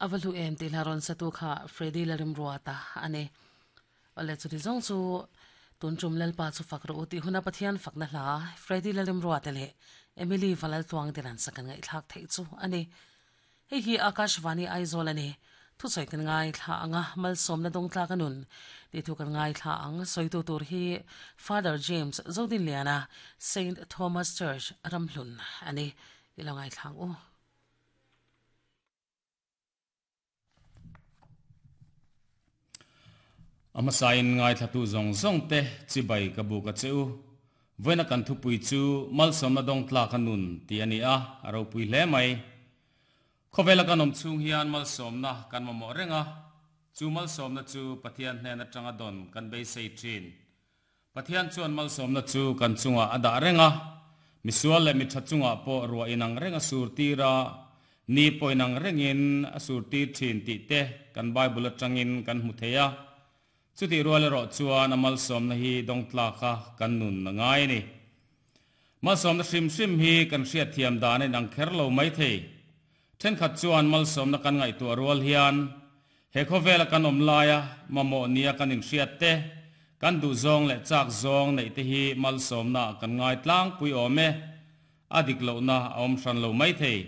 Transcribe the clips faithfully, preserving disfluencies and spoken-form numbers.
Avalu em ti laron sa tu kha Freddy larim ruata ani ole chu ti zong chu tun chum lalpa chu fakro uti huna pathian fakna hla Freddy larim ruata le Emily Valal tuang diran sakan ngai thlak thei chu ani hei hi Akashvani Aizawl ani thu choi kan ngai thla anga malsom na dong tla kanun ti thu kan ngai thla ang soitu tur hi Father James Zodin Liana Saint Thomas Church Ramhlun ani ilongai thlang u. Ama sain ngai thla tu zong zong te chi bai ka bu ka cheu voina kan thu pui chu malsom na dong tla kanun ti ani a aro pui hle mai. Khowela kan om chung hian malsom na kan mamo renga chu malsom na chu pathian hnen atanga don kan bei sei thin pathian chuan malsom na chu kan chunga ada renga misual le mi thachunga po ruwa inang renga sur tira ni poinang rengin asur ti thin ti te kan bible atangin kan hmu theia chuti rual ro chuan amal som na hi dong tla kha kan nun na ngai ni malsom na hrim hrim hi kan hriat thiam dan in ang kher lo mai thei then khat chuan malsom na kan ngai tu rual hian he khowela kan om laia mamo nia kan in hriat te kan du zong le chak zong nei te hi malsom na kan ngai tlang pui ome adik lo na om hran lo mai thei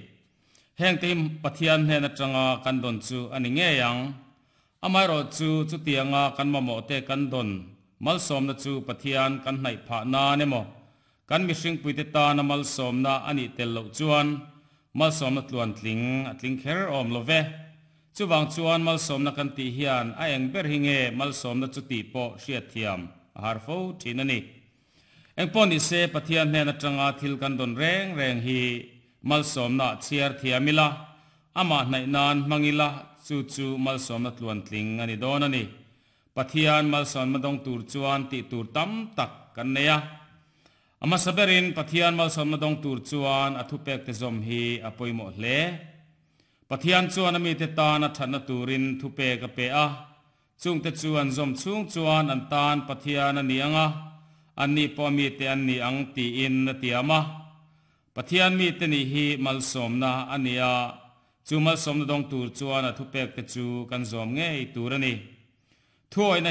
heng te pathian hnen atanga kan don chu ani nge yang amai ro chu chu tianga kan mamo te kan don malsom na chu pathian kan hnai pha na nemo kan mihring puite ta na malsom na ani tel lo chuan malsom na tluan tling atling kher om love chuwang chuan malsom na kan ti hian a eng ber hinge malsom na chu ti po hriat thiam a har fo thin ani eng pon ni se pathian hnen atanga thil kan don reng reng hi malsom na chiar thiamila ama hnai nan mangila chu chu malsom na tluan tling ani don ani pathian malsom ma dong tur chuan ti tur tam tak kan neya ama saberin pathian malsom na dong tur chuan athu pek te zom hi apoimo hle pathian chuan ami te ta na thatna turin thu pe ka pe a chung te chuan zom chung chuan an tan pathian ani anga anni po mi te anni ang ti in na tiama pathian mi te ni hi malsom na ania chu malsom na dong tur chuan a thu pek te chu kan zom ngei tur ani thuai na